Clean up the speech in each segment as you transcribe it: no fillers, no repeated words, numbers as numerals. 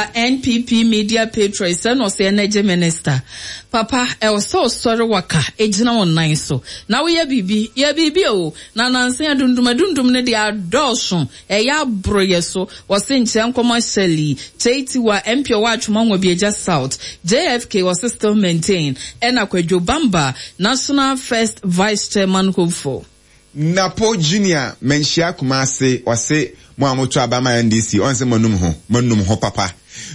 Bamba NPP Media Patron sɛ na ɔsɛ Energy Minister. Papa, ɛwɔ sɛ ɔsɔre waka gyina wo nan so na woyɛ biribi. Yɛ biribi o, na nansa yi adundum adundum no deɛ adɔɔso, ɛyɛ aboro yɛ so. Wɔse nkyerɛ nkɔma Shirley, Kyei-Tiwa, MP ɔwɔ Atwoma Nwabiagya South, JFK ɔse still maintain, ɛna Kwadwo Bamba, National First Vice Chairman hopeful. Napo Junior manhyia Kumasi ɔse mo a moto aba ma NDC ɔnse moanum ho moanum ho papa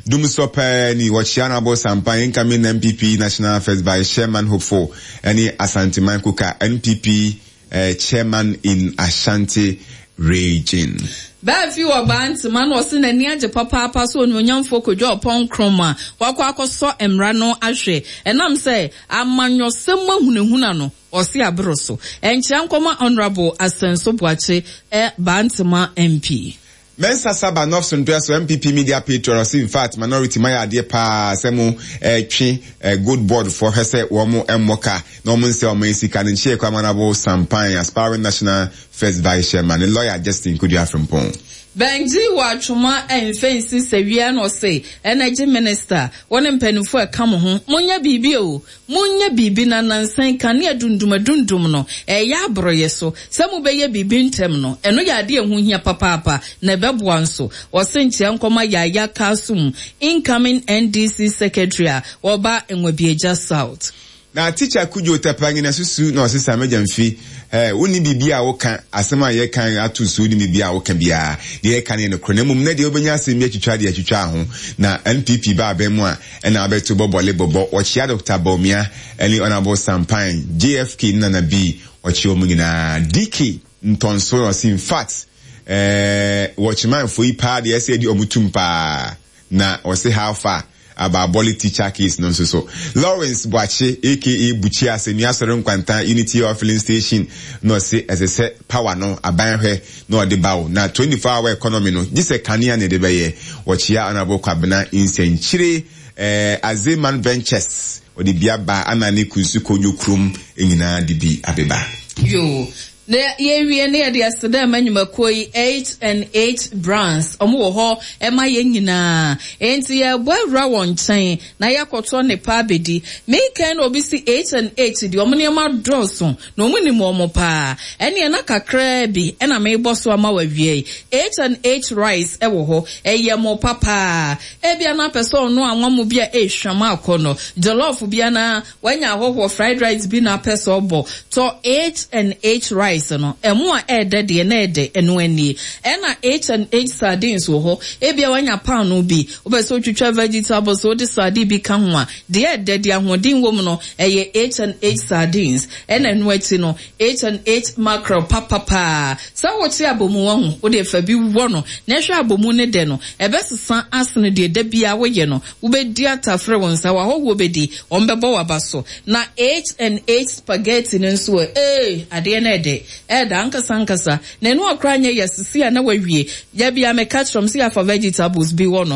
Dumsɔ paa ni wɔkyea Honourable Sampan incoming NPP National First Vice Chairman hopeful ɛne Asanteman Kuka NPP Chairman in Ashanti Region. Baafi wɔ Bantama na ɔse n'ani agye papaapa sɛ Onuonyamfoɔ Kojo Oppong Nkrumah wakɔ akɔsɔ mmara no ahwɛ ɛnam sɛ amanyɔsɛm mu ahunahuna no Ɔse aboro so. Ɛnkyea nkɔma Honourable Asenso Boakye ɛ Bantama MP. Mensah Saba North Sontoa so NPP media patron ɔse infact minority moayɛ adeɛ paa sɛ mo twe gold board foɔ hwɛ sɛ wɔn mmɔ ka na wɔn nsɛe ɔman sika no nkyea kɔ Honourable Sampan aspiring national first vice chairman ne lawyer Justin Kodua Frimpong. Bɛngye wɔ atwoma ɛnfɛ nsi sɛwia na ɔse energy minister wo ne mpaninfoɔ a ɛka mo ho monyɛ biribi o Monyɛ biribi na nnansa yi kanea dundumadundum no reyɛ aboro yɛ so. Sɛ mobɛyɛ biribi ntɛm no, ɛno yɛ adeɛ a ɛho hia papaapa na ɛbɛboa nso. Wɔse nkyea nkɔma Yaya Kasum, incoming NDC Secretary a ɔba Nwabiagya South. Na teacher Kudjo Tapangina susu na ɔsesa m'agya mfi eh, wonni biribi a woka, asɛm a yɛka ato so wonni biribi a woka biara, deɛ yɛka no yɛ nokorɛ na mmom nɛ deɛ wobɛnya asɛm bi atwitwa deɛ atwitwa ho na NPP ba abɛn mu a ɛna abɛto bɔ bɔle bɔbɔ wɔkyea Doctor Bawumia ɛne Honourable Sampan, JFK ne Nana B wɔkyea wɔn nyinaa DK Ntɔnso na ɔse infact eh, wɔkyemanfoɔ yi paa deɛ ɛsɛ yɛde wɔn tum paa. Na ɔse how far about Bɔle teacher case no nso so. Lawrence Boakye aka Buchi Asɛnnua Asɔre Nkwanta Unity Oil Filling Station na ɔse ɛsɛ sɛ power no aban hwɛ na ɔde ba o na 24 hour economy no gye sɛ kanea na ɛde bɛyɛ. Wɔkyea Honourable Kwabena Nsɛnkyire eh, Azeman Ventures ɔde bi aba ana ne Kunsu Kojo Krom nyinaa de bi abeba. Yoo. Na yɛwie no yɛde aseda rema nnwumakuo yi H and H Brands, wɔn wɔ hɔ ma yɛn nyinaa, enti yɛrebɔ awura wɔn nkyɛn na yɛakɔtɔ nnepa abɛdi. Mekan na obi si H and H deɛ wɔn nneɛma dɔɔso na wɔn nim wɔn paa, ɛneɛ na kakraa bi na merebɔ so ama wo awia yi. H and H rice wɔ hɔ, ɛyɛ mo papaa, ebia na apɛ sɛ ɔnoa anwa mo bi a ɛrehwam akɔ no, jollof bi anaa Wanya ahɔhoɔ fried rice bi na apɛ sɛ ɔbɔ. Tɔ H and H rice no. Ɛmo a ɛɛdɛ deɛ na ɛɛdɛ, ɛno anie. Ɛna H and H sardines wɔ hɔ. Ebia wanya paanoo bi, wopɛ sɛ wotwitwa vegetables, wode sardine bi ka ho a, deɛ ɛɛdɛ, deɛ ahoɔden wɔ mu no, ɛyɛ H and H sardines. Ɛna ɛno akyi no, H and H mackerel papa paa. Sɛ wokye abomu wahu, wodeɛ fa bi wɔ no na hwɛ abomu no dɛ no, ɛbɛsesa asene deɛ da biara woyɛ no. Wobɛdi atafere wo nsa, w'ahɔhoɔ bɛdi, wɔbɛbɔ w'aba so. Na H and H spaghetti no nso ɛ, ee, adeɛ no ɛdɛ, ɛɛdɛ ankasa ankasa. Na ɛno a koraa nyɛ yɛ sisi a na wawie. Da biara meka kyerɛ wɔn sɛ yɛafa vegetables bi wɔ no.